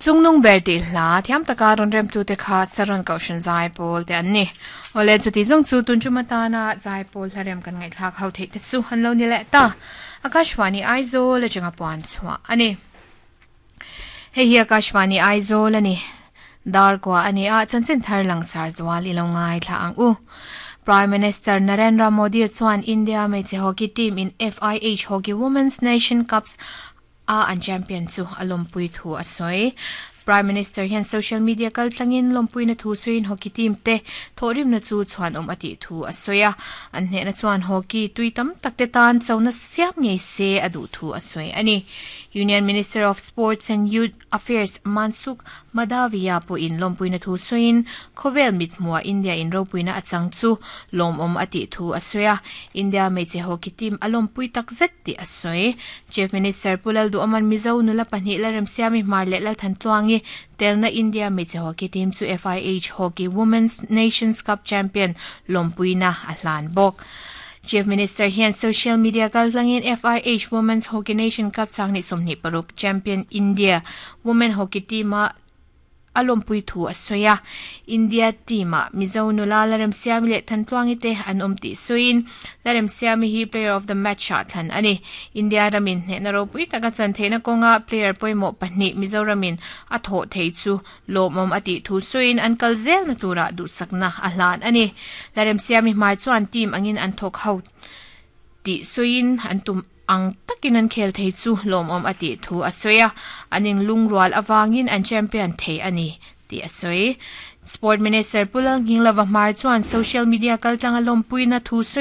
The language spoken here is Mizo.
Chungnung ber tih hla thiam taka rawn remtute kha Saron Kohhran Zaipawl te an ni. Awle, chuti zawng chu tun tum atana Zaipawl hlarem kan ngaihthlak ho theih te chu an lo ni leh ta. Akashvani Aizawl atanga puan chhuah a ni. Hei hi Akashvani Aizawl a ni. Dar kua a ni a, chanchin thar langsar zual i lo ngaithla ang u. Prime Minister Narendra Modi chuan India hmeichhe hockey team in FIH Hockey Women's Nation Cups a an champion chu a lawmpui thu a sawi. Prime Minister hian social media kaltlangin lawmpuina thu sawiin hockey team te thawhrimna chu chhuanawm a tih thu a sawi a. An hnehna chuan hockey tui tam tak te tan chona siam ngei se a duh thu a sawi a ni. Union Minister of Sports and Youth Affairs Mansukh Mandaviya pawhin lawmpuina thu sawiin khawvel mithmuha India in ropuina a chang chu lawmawm a tih thu a sawi a, India hmeichhe hockey team a lawmpui tak zet tih a sawi. Chief Minister Pu Lalduhawman Mizo nula pahnih Lalremsiami Hmar leh Lalthantluangi telna India hmeichhe hockey team chu FIH Hockey Women's Nations Cup champion lawmpuina a hlan bawk. Chief Minister hian social media kaltlangin FIH Women's Hockey Nation Cup sanghnih 26 champion India Women Hockey team-a a lawmpui thu a sawi a. India team-ah Mizo nula Laremsiami leh Thantluangi te an awm tih sawiin Laremsiami hi Player of the Match-ah thlan a ni. India ramin hnehna ropui taka chan theihna kawnga player pawimawh pahnih Mizoramin a thawh thei chu lawmawm a tih thu sawiin an kal zelna turah duhsakna a hlan a ni. Laremsiami hmai chuan team angin an thawk ho tih sawiin an tum ang takin an khel thei chu lawmawm a tih thu a sawi a, an inlungrual avangin an champion thei a ni tih a sawi. Sport Minister Pu Lalnghinglova Hmar chuan social media kaltlanga lawmpuina thu sawi.